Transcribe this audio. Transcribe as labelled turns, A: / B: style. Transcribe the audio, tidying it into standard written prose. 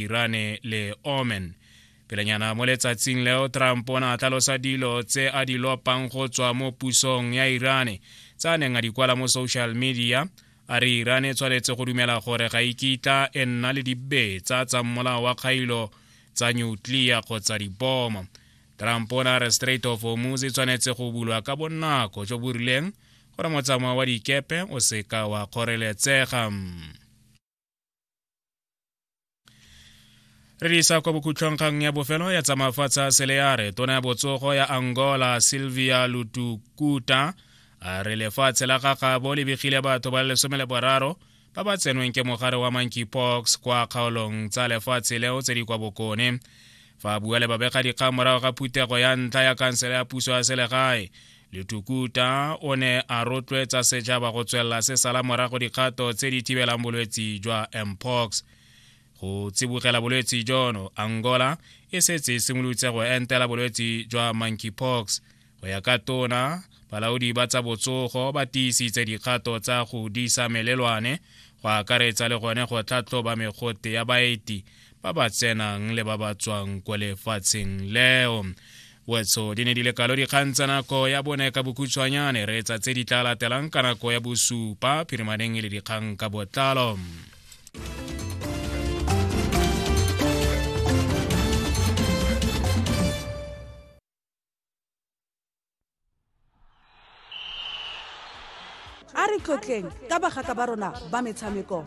A: Irane le Oman. Pelenyana mo letsatsing leo, Trump o ne a tlhalosa dilo tse a di lopang go tswa mo pusong ya Irane tse a neng a di kwala mo social media, a re Irane e tshwanetse go dumela gore ga e kitla e nna le dibetsa tsa mmolao wa kgailo tsa nuclear kgotsa dibomo. Trump o ne a re Strait of Hormuz e tshwanetse go bulwa ka bonako jo bo rileng gore motsamao wa dikepe o seka wa kgoreletsega. Re di isa kwa bokhutlhong kgang ya bofelo ya tsa mafatshe a seleare. Tona ya botsogo ya Angola, Sylvia Lutukuta, a re lefatshe la gagabo le begile batho ba le 13 ba ba tsenweng ke mogare wa monkeypox kwa kgaolong tsa lefatshe leo tse di kwa bokone. Fa a bua le babegadikgang morago ga phuthego ya ntlha ya kansele ya puso ya selegae, Lutukuta o ne a rotloetsa setšhaba go tswelela se sala morago dikgato tse di thibelang bolwetsi jwa mpox. Go tsibogela bolwetsi jono, Angola e setse e simolotse go entela bolwetsi jwa monkeypox. Go ya ka tona, balaodi ba tsa botsogo ba tiisitse dikgato tsa go disa melelwane, go akaretsa le gone go tlhatlhoba megote ya baeti ba ba tsenang le ba ba tswang kwa lefatsheng leo. Wetso di ne di le kalo dikgang tsa nako ya bone ka bokhutshwanyane. Re etsa tse di tla latelang ka nako ya bosupa phirimaneng e le dikgang ka botlalo.
B: A re tlotleng ka bagaka ba rona ba metshameko.